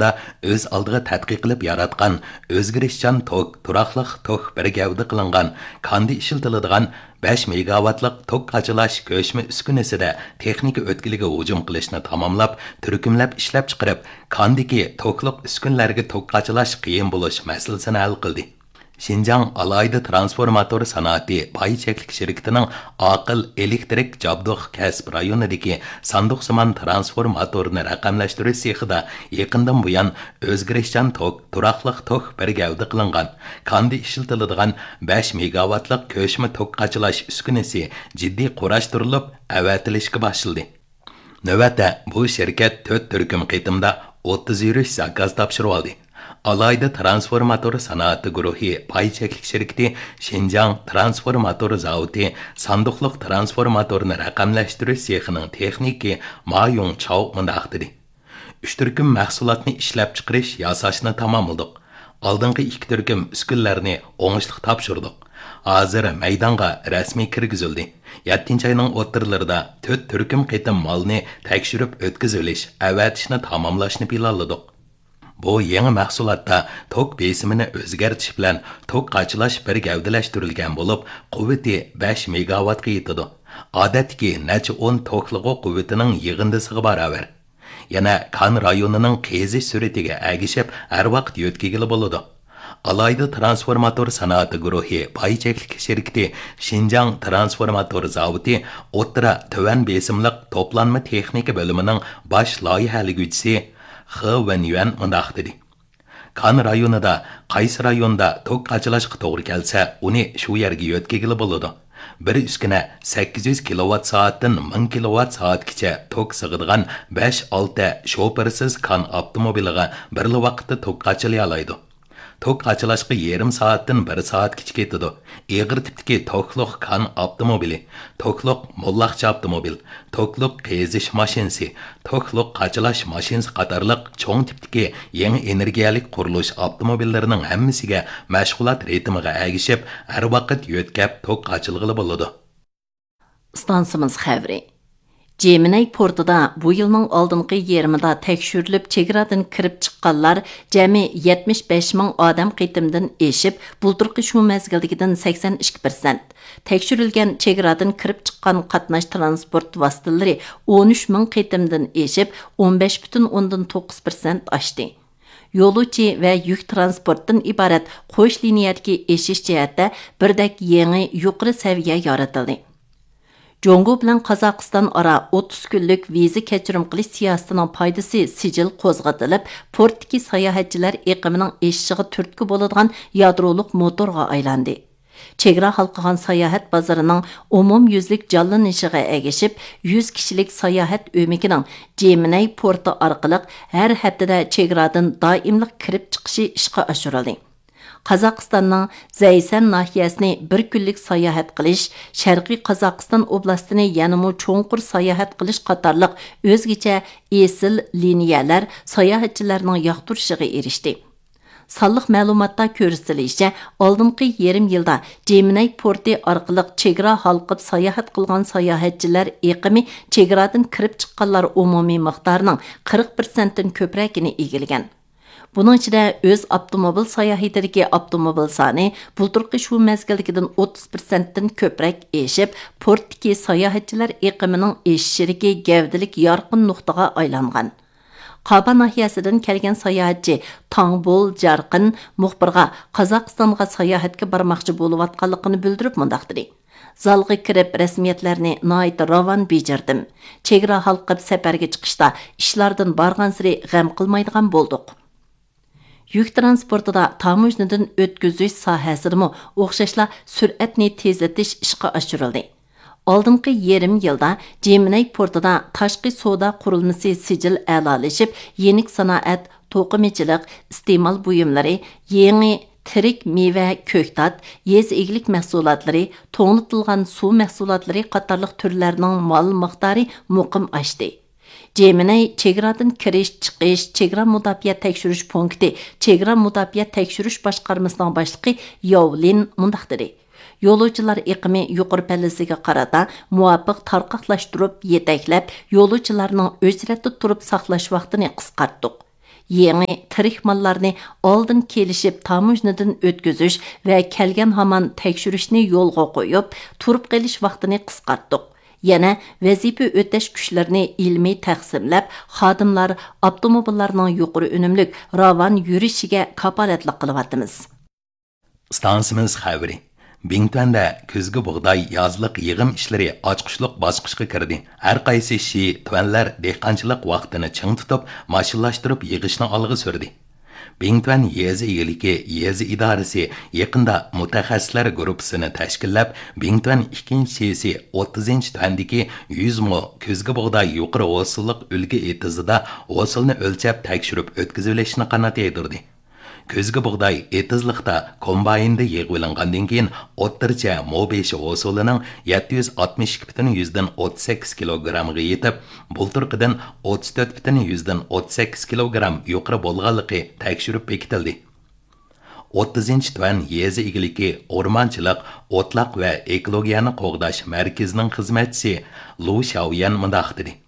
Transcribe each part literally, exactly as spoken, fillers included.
ئۆز ئالدىغا تەتقىق قىلىپ ياراتقان ئۆزگىرىشچان توك، تۇراقلىق توك بىر گەۋدە قىلىنغان كاندا ئىشلىتىلىدىغان بەش مېگاۋاتلىق توك قاچىلاش كۆچمە ئۈسكۈنىسىدە تېخنىكا ئۆتكىلىگە ھۇجۇم قىلىشنى تاماملاپ، تۈركۈملەپ ئىشلەپچىقىرىپ، كاندىكى توكلۇق ئۈسكۈنىلەرگە توك قاچىلاش قىيىن بولۇش مەسىلىسىنى ھەل قىلدى. شىنجاڭ ئالاھىدە ترانسفورماتور سانائىتى پاي چەكلىك شىركىتىنىڭ ئاقىل ئېلېكتىرىك جابدۇق كەسىپ رايونىدىكى ساندۇقسىمان ترانسفورماتورنى رەقەملەشتۈرۈش سېخىدا يېقىندىن بۇيان ئۆزگىرىشچان توك، تۇراقلىق توك بىر گەۋدە قىلىنغان، كاندا ئىشلىتىلىدىغان بەش مېگاۋاتلىق كۆچمە توك قاچىلاش ئۈسكۈنىسى جىددىي قۇراشتۇرۇلۇپ، ئەۋەتىلىشكە باشلىدى. نۆۋەتتە بۇ شىركەت تۆت تۈركۈم قېتىمدا ئوتتۇز يۈرۈش زاكاز تاپشۇرۇۋالدى. ئالاھىدە ترانسفورماتور سانائىتى گۇرۇھى پاي چەكلىك شىركىتى شىنجاڭ ترانسفورماتور زاۋۇتى ساندۇقلۇق ترانسفورماتورنى رەقەملەشتۈرۈش سېخىنىڭ تېخنىكى ما يۇڭ چاۋ مۇنداق دېدى: ئۈچ تۈركۈم مەھسۇلاتنى ئىشلەپچىقىرىش، ياساشنى تاماملىدۇق. ئالدىنقى ئىككى تۈركۈم ئۈسكۈنىلەرنى ئوڭۇشلۇق تاپشۇردۇق. ھازىر مەيدانغا رەسمىي كىرگۈزۈلدى. يەتتىنچى ئاينىڭ ئوتتۇرىلىرىدا تۆت تۈركۈم قېتىم مالنى تەكشۈرۈپ ئۆتكۈزۈۋېلىش، ئەۋەتىشنى تاماملاشنى پىلانلىدۇق. بۇ يېڭى مەھسۇلاتتا توك بېسىمىنى ئۆزگەرتىش بىلەن توك قاچىلاش بىر گەۋدىلەشتۈرۈلگەن بولۇپ، قۇۋۋىتى بەش مېگاۋاتقا يېتىدۇ. ئادەتتىكى نەچچە ئون توكلىغۇ قۇۋۋىتىنىڭ يىغىندىسىغا باراۋەر. يەنە كان رايونىنىڭ قېزىش سۈرئىتىگە ئەگىشىپ، ھەر ۋاقىت يۆتكىگىلى بولىدۇ. ئالاھىدە ترانسفورماتور سانائىتى گۇرۇھى پاي چەكلىك شىركىتى شىنجاڭ ترانسفورماتور زاۋۇتى ئوتتۇرا، تۆۋەن بېسىملىق توپلانما تېخنىكا بۆلۈمىنىڭ باش لايىھەلىگۈچىسى خې ۋېنيۈەن مۇنداق دېدى: كان رايونىدا قايسى رايوندا توك قاچىلاشقا توغرا كەلسە، ئۇنى شۇ يەرگە يۆتكىگىلى بولىدۇ. بىر ئۈسكۈنە سەككىز يۈز كىلوۋات سائەتتىن مىڭ كىلوۋات سائەتكىچە توك سىغىدىغان بەش ئالتە شوپۇرسىز كان ئاپتوموبىلىغا بىرلا ۋاقىتتا توك قاچىلىيالايدۇ. توك قاچىلاشقا يېرىم سائەتتىن بىر سائەتكىچە كېتىدۇ. ئېغىر تىپتىكى توكلۇق كان ئاپتوموبىلى، توكلۇق موللاقچى ئاپتوموبىل، توكلۇق قېزىش ماشىنىسى، توكلۇق قاچىلاش ماشىنىسى قاتارلىق چوڭ تىپتىكى يېڭى ئېنېرگىيەلىك قۇرۇلۇش ئاپتوموبىللىرىنىڭ ھەممىسىگە مەشغۇلات رىتىمىغا ئەگىشىپ، ھەر ۋاقىت يۆتكەپ توك قاچىلىغىلى بولىدۇ. ئىستانسىمىز خەۋىرى. جېمىنەي پورتىدا بۇ يىلنىڭ ئالدىنقى يېرىمىدا تەكشۈرۈلۈپ، چېگرادىن كىرىپ چىققانلار جەمئىي يەتمىش بەش مىڭ ئادەم قېتىمدىن ئېشىپ، بۇلتۇرقى شۇ مەزگىلدىكىدىن سەكسەن ئىككى پىرسەنت. تەكشۈرۈلگەن چېگرادىن كىرىپ چىققان قاتناش تىرانسپورت ۋاسىتىلىرى ئون ئۈچ مىڭ قېتىمدىن ئېشىپ، ئون بەش پۈتۈن ئوندىن توققۇز پىرسەنت ئاشتى. يولۇچى ۋە يۈك تىرانسپورتتىن ئىبارەت قوش لىنىيەدىكى ئېشىش جەھەتتە بىردەك يېڭى يۇقىرى سەۋىيە يارىتىلدى. جۇڭگو بىلەن قازاقىستان ئارا ئوتتۇز كۈنلۈك ۋىزا كەچۈرۈم قىلىش سىياسىتىنىڭ پايدىسى سىجىل قوزغىتىلىپ، پورتتىكى ساياھەتچىلەر ئېقىمىنىڭ ئېشىشىغا تۈرتكە بولىدىغان يادرولۇق موتورغا ئايلاندى. چېگرا ھالقىغان ساياھەت بازىرىنىڭ ئومۇميۈزلۈك جانلىنىشىغا ئەگىشىپ، يۈز كىشىلىك ساياھەت ئۆمىكىنىڭ جېمىنەي پورتى ئارقىلىق ھەر ھەپتىدە چېگرادىن دائىملىق كىرىپ چىقىشى ئىشقا ئاشۇرۇلدى. قازاقىستاننىڭ زەيسەن ناھىيەسىنى بىر كۈنلۈك ساياھەت قىلىش، شەرقىي قازاقىستان ئوبلاستىنى يەنىمۇ چوڭقۇر ساياھەت قىلىش قاتارلىق ئۆزگىچە ئېسىل لىنىيەلەر ساياھەتچىلەرنىڭ ياقتۇرۇشىغا ئېرىشتى. سانلىق مەلۇماتتا كۆرسىتىلىشىچە، ئالدىنقى يېرىم يىلدا جېمىنەي پورتى ئارقىلىق چېگرا ھالقىپ ساياھەت قىلغان ساياھەتچىلەر ئېقىمى چېگرادىن كىرىپ چىققانلار ئومۇمىي مىقدارىنىڭ قىرىق پىرسەنتتىن كۆپرەكىنى ئىگىلىگەن. بۇنىڭ ئىچىدە ئۆز ئاپتوموبىل ساياھىتىدىكى ئاپتوموبىل سانى بۇلتۇرقى شۇ مەزگىلدىكىدىن ئوتتۇز پىرسەنتتىن كۆپرەك ئېشىپ، پورتتىكى ساياھەتچىلەر ئېقىمىنىڭ ئېشىشىدىكى گەۋدىلىك يارقىن نۇقتىغا ئايلانغان. قابا ناھىيەسىدىن كەلگەن ساياھەتچى تاڭبول جارقىن مۇخبىرغا قازاقىستانغا ساياھەتكە بارماقچى بولۇۋاتقانلىقىنى بىلدۈرۈپ مۇنداق دېدى: زالغا كىرىپ رەسمىيەتلەرنى ناھايىتى راۋان بېجىردىم. چېگرا ھالقىپ سەپەرگە چىقىشتا ئىشلاردىن بارغانسېرى غەم قىلمايدىغان بولدۇق. يۈك تىرانسپورتىدا تاموژنىدىن ئۆتكۈزۈش ساھەسىدىمۇ ئوخشاشلا سۈرئەتنى تېزلىتىش ئىشقا ئاشۇرۇلدى. ئالدىنقى يېرىم يىلدا جېمىنەي پورتىدا تاشقى سودا قۇرۇلمىسى سىجىل ئەلالىشىپ، يېنىك سانائەت، توقۇمىچىلىق، ئىستېمال بۇيۇملىرى، يېڭى تىرىك مېۋە، كۆكتات، يېزا ئىگىلىك مەھسۇلاتلىرى، توڭلىتىلغان سۇ مەھسۇلاتلىرى قاتارلىق تۈرلەرنىڭ مال مىقدارى مۇقىم ئاشتى. جېمىنەي چېگرادىن كىرىش، چىقىش، چېگرا مۇداپىئە تەكشۈرۈش پونكىتى چېگرا مۇداپىئە تەكشۈرۈش باشقارمىسىنىڭ باشلىقى ياۋ لىن مۇنداق دېدى: يولۇچىلار ئېقىمى يۇقىرى پەللىسىگە قارىتا مۇۋاپىق تارقاقلاشتۇرۇپ، يېتەكلەپ، يولۇچىلارنىڭ ئۆچرەتتە تۇرۇپ ساقلاش ۋاقتىنى قىسقارتتۇق. يېڭى تىرىك ماللارنى ئالدىن كېلىشىپ تاموژنىدىن ئۆتكۈزۈش ۋە كەلگەن ھامان تەكشۈرۈشنى يولغا قويۇپ، تۇرۇپ قېلىش ۋاقتىنى قىسقارتتۇق. يەنە ۋەزىپە ئۆتەش كۈچلىرىنى ئىلمىي تەقسىملەپ، خادىملار، ئاپتوموبىللارنىڭ يۇقىرى ئۈنۈملۈك، راۋان يۈرۈشىگە كاپالەتلىك قىلىۋاتىمىز. ئىستانسىمىز خەۋىرى. بىڭتۈەندە كۈزگى بۇغداي يازلىق يىغىم ئىشلىرى ئاچقۇچلۇق باسقۇچقا كىردى. ھەر قايسى شى تۈەنلەر دېھقانچىلىق ۋاقتىنى چىڭ تۇتۇپ، ماشىنىلاشتۇرۇپ يىغىشنى ئالغا سۈردى. بىڭتۈەن يېزا ئىگىلىكى يېزا ئىدارىسى يېقىندا مۇتەخەسسىسلەر گۇرۇپپىسىنى تەشكىللەپ، بىڭتۈەن ئىككىنچى شىسى ئوتتۇزىنچى تۈەندىكى يۈز مو كۈزگى بۇغداي يۇقىرى ھوسۇللۇق ئۈلگە ئېتىزىدا ھوسۇلنى ئۆلچەپ تەكشۈرۈپ ئۆتكۈزۈۋېلىشنى قانات يايدۇردى. كۈزگى بۇغداي ئېتىزلىقتا كومبايندا يىغىۋېلىنغاندىن كېيىن، ئوتتۇرىچە مو بېشى ھوسۇلىنىڭ يەتتە يۈز ئاتمىش ئىككى پۈتۈن يۈزدىن ئوتتۇز سەككىز كىلوگرامغا يېتىپ، بۇلتۇرقىدىن ئوتتۇز تۆت پۈتۈن يۈزدىن ئوتتۇز سەككىز كىلوگرام يۇقىرى بولغانلىقى تەكشۈرۈپ بېكىتىلدى. ئوتتۇزىنچى تۈەن يېزا ئىگىلىكى، ئورمانچىلىق، ئوتلاق ۋە ئېكولوگىيەنى قوغداش مەركىزىنىڭ خىزمەتچىسى لۇ شياۋيەن مۇنداق دېدى: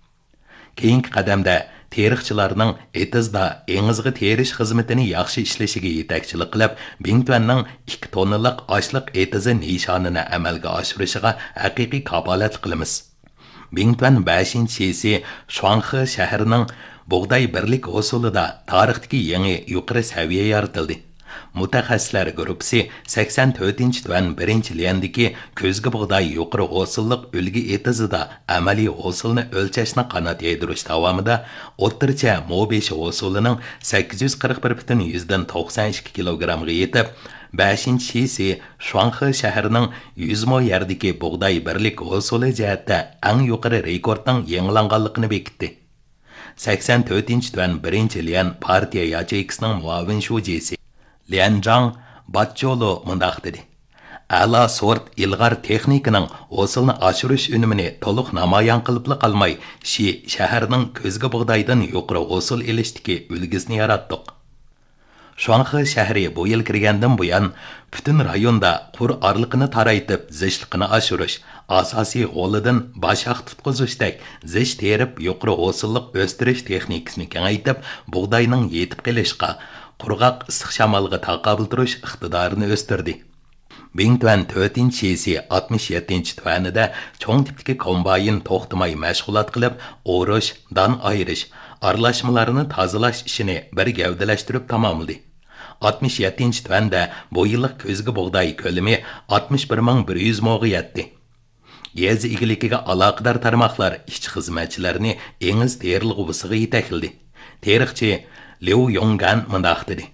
كېيىنكى قەدەمدە تېرىقچىلارنىڭ ئېتىزدا ئېڭىزغا تېرىش خىزمىتىنى ياخشى ئىشلىشىگە يېتەكچىلىك قىلىپ، بىڭتۈەننىڭ ئىككى توننىلىق ئاشلىق ئېتىزى نىشانىنى ئەمەلگە ئاشۇرۇشىغا ھەقىقىي كاپالەتلىك قىلىمىز. بىڭتۈەن بەشىنچى شىسى شۇاڭخې شەھىرىنىڭ بۇغداي بىرلىك ھوسۇلىدا تارىختىكى يېڭى يۇقىرى سەۋىيە يارىتىلدى. مۇتەخەسسىسلەر گۇرۇپپىسى سەكسەن تۆتىنچى تۈەن بىرىنچى ليەندىكى كۈزگى بۇغداي يۇقىرى ھوسۇللۇق ئۈلگە ئېتىزىدا ئەمەلىي ھوسۇلنى ئۆلچەشنى قانات يايدۇرۇش داۋامىدا ئوتتۇرىچە مو بېشى ھوسۇلىنىڭ سەككىز يۈز قىرىق بىر پۈتۈن يۈزدىن توقسان ئىككى كىلوگرامغا يېتىپ، بەشىنچى شىسى شۇاڭخې شەھىرىنىڭ يۈز مو يەردىكى بۇغداي بىرلىك ھوسۇلى جەھەتتە ئەڭ يۇقىرى رېكورتنىڭ يېڭىلانغانلىقىنى بېكىتتى. سەكسەن تۆتىنچى تۈەن بىرىنچى ليەن پارتىيە ياچېيكىسىنىڭ مۇئاۋىن شۇجىسى ليەن جاڭ باتچولۇ مۇنداق دېدى: ئەلا سورت ئىلغار تېخنىكىنىڭ ھوسۇلنى ئاشۇرۇش ئۈنۈمىنى تولۇق نامايان قىلىپلا قالماي، شى شەھەرنىڭ كۈزگى بۇغدايدىن يۇقىرى ھوسۇل ئېلىشتىكى ئۈلگىسىنى ياراتتۇق. شۇاڭخې شەھىرى بۇ يىل كىرگەندىن بۇيان، پۈتۈن رايوندا قۇر ئارىلىقىنى تارايتىپ، زىچلىقىنى ئاشۇرۇش، ئاساسىي غولىدىن باش ھەق تۇتقۇزۇشتەك زىچ تېرىپ، يۇقىرى ھوسۇللۇق ئۆستۈرۈش تېخنىكىسىنى كېڭەيتىپ، بۇغداينىڭ يېتىپ قېلىشقا، قۇرغاق ئىسسىق شامالغا تاقابىل تۇرۇش ئىقتىدارىنى ئۆستۈردى. بىڭتۈەن تۆتىنچى شىسى ئاتمىش يەتتىنچى تۈەنىدە چوڭ تىپتىكى كومباين توختىماي مەشغۇلات قىلىپ، ئورۇش، دان ئايرىش، ئارىلاشمىلارنى تازىلاش ئىشىنى بىر گەۋدىلەشتۈرۈپ تاماملىدى. ئاتمىش يەتتىنچى تۈەندە بۇ يىللىق كۈزگى بۇغداي كۆلىمى ئاتمىش بىر مىڭ بىر يۈز موغا يەتتى. يېزا ئىگىلىكىگە ئالاقىدار تارماقلار ئىشچى-خىزمەتچىلەرنى ئېڭىز تېرىلغۇسىغا يېتەكلىدى. تېرىقچى ليۇ يوڭگەن مۇنداق دېدى: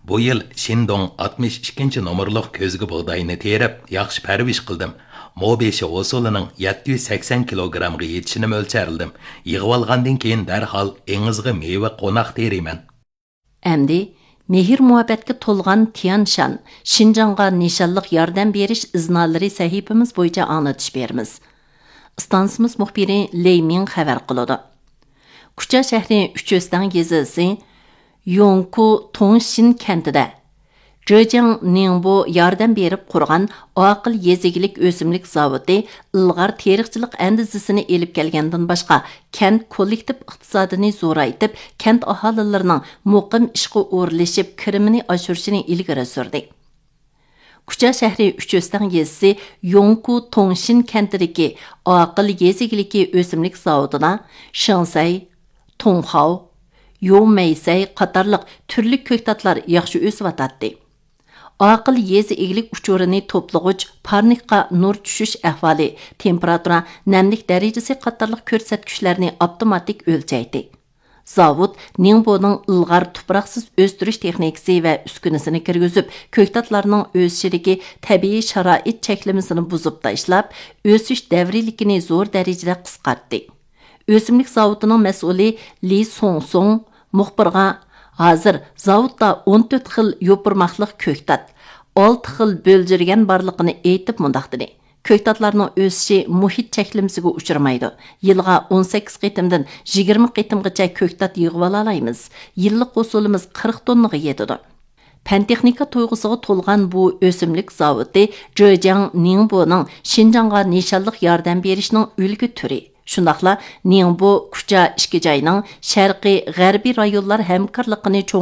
بۇ يىل شىندوڭ ئاتمىش ئىككىنچى نومۇرلۇق كۆزگە بۇغداينى تېرىپ، ياخشى پەرۋىش قىلدىم. مو بېشى ھوسۇلىنىڭ يەتتە يۈز سەكسەن كىلوگرامغا يېتىشىنى مۆلچەرلىدىم. يىغىۋالغاندىن كېيىن دەرھال ئېڭىزغا مېۋە قوناق تېرىيمەن. ئەمدى مېھىر-مۇھەببەتكە تولغان تيەنشان، شىنجاڭغا نىشانلىق ياردەم بېرىش ئىزنالىرى سەھىپىمىز بويىچە ئاڭلىتىش بېرىمىز. ئىستانسىمىز مۇخبىرى لېي مىڭ خەۋەر قىلىدۇ. كۇچا شەھىرى ئۈچ ئۆستەڭ يېزىسى يوڭكۇ توڭشىن كەنتىدە جېجياڭ نىڭبو ياردەم بېرىپ قۇرغان ئاقىل يېزا ئىگىلىك ئۆسۈملۈك زاۋۇتى ئىلغار تېرىقچىلىق ئەندىزىسىنى ئېلىپ كەلگەندىن باشقا، كەنت كوللېكتىپ ئىقتىسادىنى زورايتىپ، كەنت ئاھالىلىرىنىڭ مۇقىم ئىشقا ئورۇنلىشىپ، كىرىمىنى ئاشۇرۇشىنى ئىلگىرى سۈردى. كۇچا شەھىرى ئۈچ ئۆستەڭ يېزىسى يوڭكۇ توڭشىن كەنتىدىكى ئاقىل يېزا ئىگىلىكى ئۆسۈملۈك زاۋۇتىدا شېڭسەي، تۇڭخاۋ، يومەيسەي قاتارلىق تۈرلۈك كۆكتاتلار ياخشى ئۆسۈۋاتاتتى. ئاقىل يېزا ئىگىلىك ئۇچۇرىنى توپلىغۇچ پارنىكقا نۇر چۈشۈش ئەھۋالى، تېمپېراتۇرا، نەملىك دەرىجىسى قاتارلىق كۆرسەتكۈچلەرنى ئاپتوماتىك ئۆلچەيتتى. زاۋۇت نىڭبونىڭ ئىلغار تۇپراقسىز ئۆستۈرۈش تېخنىكىسى ۋە ئۈسكۈنىسىنى كىرگۈزۈپ، كۆكتاتلارنىڭ ئۆسۈشىدىكى تەبىئىي شارائىت چەكلىمىسىنى بۇزۇپ تاشلاپ، ئۆسۈش دەۋرىيلىكىنى زور دەرىجىدە قىسقارتتى. ئۆسۈملۈك زاۋۇتىنىڭ مەسئۇلى لى سۇڭسۇڭ مۇخبىرغا ھازىر زاۋۇتتا ئون تۆت خىل يوپۇرماقلىق كۆكتات، ئالتە خىل بۆلجۈرگەن بارلىقىنى ئېيتىپ مۇنداق دېدى: كۆكتاتلارنىڭ ئۆسۈشى مۇھىت چەكلىمىسىگە ئۇچرىمايدۇ. يىلىغا ئون سەككىز قېتىمدىن يىگىرمە قېتىمغىچە كۆكتات يىغىۋالالايمىز. يىللىق ھوسۇلىمىز قىرىق توننىغا يېتىدۇ. پەن-تېخنىكا تۇيغۇسىغا تولغان بۇ ئۆسۈملۈك زاۋۇتى جېجياڭ نىڭبونىڭ شىنجاڭغا نىشانلىق ياردەم بېرىشنىڭ ئۈلگە تۈرى. شۇنداقلا نىڭبو، كۇچا ئىككى جاينىڭ شەرقىي، غەربىي رايونلار ھەمكارلىقىنى چوڭ